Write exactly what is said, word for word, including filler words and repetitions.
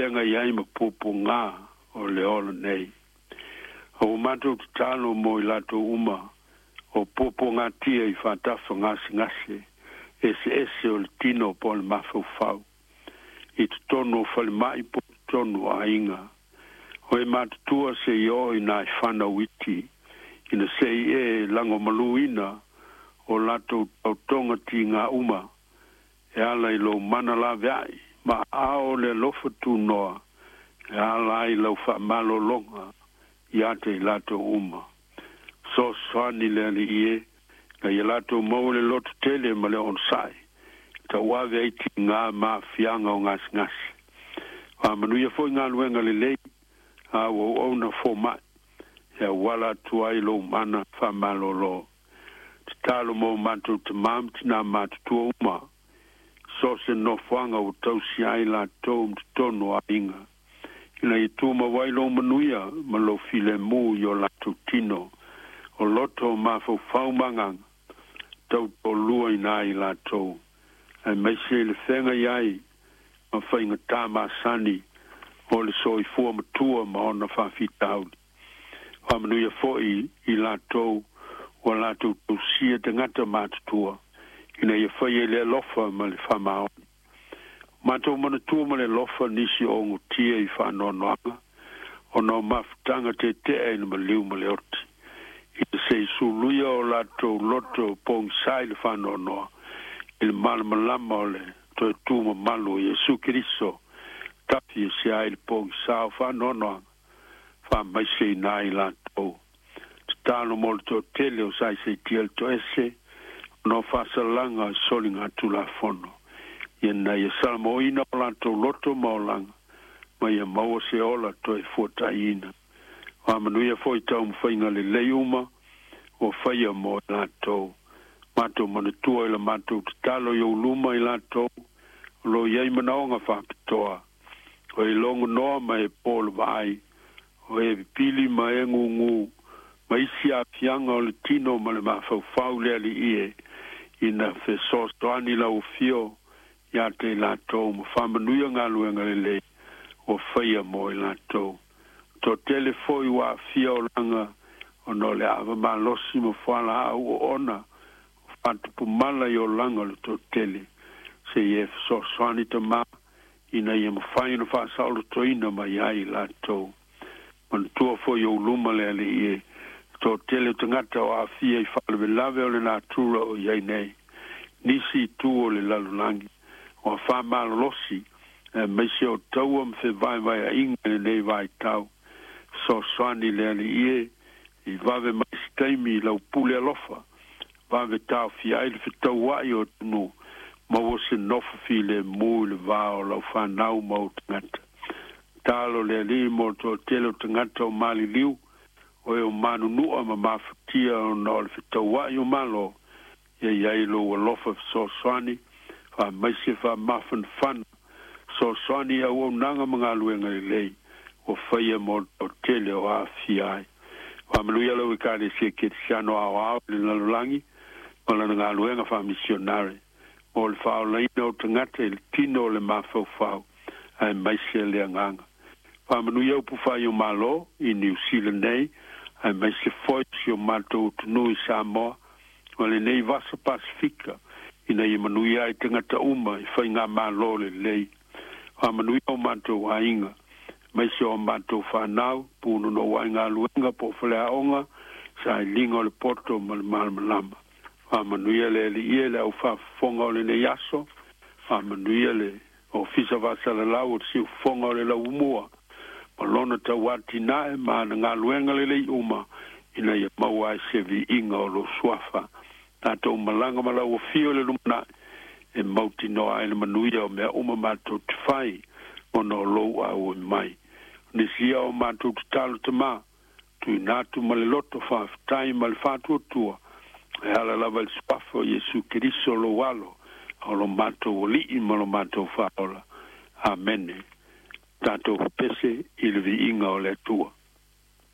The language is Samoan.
feagai ai ma puapuagā o le ola nei. O ua matou tatalo mo i latou uma o puapuagatia i faatafa gasegase eseese o le tino po o le mafaufau i totonu o falemai po o totonu o aiga. O e matutua seia oo i nai fanau iti ina se i e lagomaluina o latou taotoga tigā uma e ala i lou mana laveai ma aao o le alofa tunoa e ala ai lau faamalologa ia te i latou uma. Fesoasoani le Alii e ina ia latou maua le loto tele ma le onosai e tauave ai tigā ma aafiaga o gasegase. Faamanuia foi galuega lelei a ua auauna fomaʻi e auala atu ai lou mana faamalōlō. Tatalo mo matou tamā ma tinā matutua uma so o se nofoaga ua tausia ai latou ma totonu o aiga ina ia tumau ai lou manuia ma lou filemu i o latou tino o loto o mafaufau ma agaga tautoaluaina ai latou aemaise i le feagai ai ma faigata masani o le soifua matua ma ona faafitauli. Faamanuia foi i latou ua latou tausia tagata matutua ina ia faia i le alofa ma le faamaoni. Matou manatua ma le alofa nisi o ogotia i faanoanoaga ona o mafutaga tetea i le maliu ma le oti ina se i suluia o latou loto pogisā i le faanoanoa i le malamalama o le toe tu mamalu o Iesu Keriso tafi ese ai le pogisā o faanoanoaga faamaiseina ai latou. Tatalo mo le toatele o saisaitia le toese ona o faasalaga soligatulafono ina ia salamoina o latou loto ma olaga ma ia maua se ola toe fuataiina. Faamanuia foi taumafaiga lelei uma ua faia mo i latou. Matou manatua i la matou tatalo i ou luma i latou o lo o i ai manaoga faapitoa o e logonoa ma e po le vaai o e pipili ma e gugū ma isi aafiaga o le tino ma le mafaufau. Le Alii e, ina fesoasoani lau afio ia te i latou ma faamanuia galuega lelei ua faia mo i latou. Toatele foi ua aafia olaga ona o le ava malosi ma fualaau oona o faatupumala i olaga o le toatele se i e fesoasoani tamā ina ia mafai ona faasaolotoina mai ai i latou. Manatua foi ou luma le Alii e toatele o tagata o aafia i faalavelave o le natura o i ai nei nisi i tu o le lalolagi o afa malolosi aemaise o taua ma fevaevaeaʻiga i lenei vaitau. Fesoasoani le Alii e i vave mai se taimi i lau pule alofa vave taofia ai le fetauaʻi o atunuu maua se nofo filemu i le vā o lau fanau ma ou tagata. Talo le Alii mo le toatele o tagata o maliliu o e o manunuʻa ma mafatia ona o le fetauaʻi o malo ia i ai lou alofa fesoasoani faamaise faamafanafana fesoasoani i auaunaga ma galuega lelei ua faia mo le toatele o aafia ai. Faamanuia lau Ekalesia Kerisiano aoao i le lalolagi ma lana galuega faamisionare mo le faaolaina o tagata i le tino o le mafaufau aemaise le agaga. Faamanuia upu fai o Malo i Niu Sila nei aemaise foi si o matou atunuu i Samoa ma lenei vasa Pasifika ina ia manuia ai tagata uma i faigamālō lelei. Faamanuia o matou aiga aemaise o matou fanau punonou ai galuega po o faleaoga sailiga o le poto ma le malamalama. Faamanuia le Alii e le aufaafofoga o lenei aso. Faamanuia le ofisa faasalalau o le siufofoga o le lauumua ma lona tauatinae ma ana galuega lelei uma ina ia maua ai se viiga o lou suafa. Tatou malaga ma lau afio i le lumanai e mautinoa ai le manuia o mea uma matou te fai ona o lou auoi mai. Nisi ia o matou tatalo tamā tuuina atu ma le loto faafetai ma le faatuatua e ala lava i le suafa o Iesu Keriso lou Alo o lo matou Alii ma lo matou Faaola. Amene. Tatou pepese i le viiga o le Atua.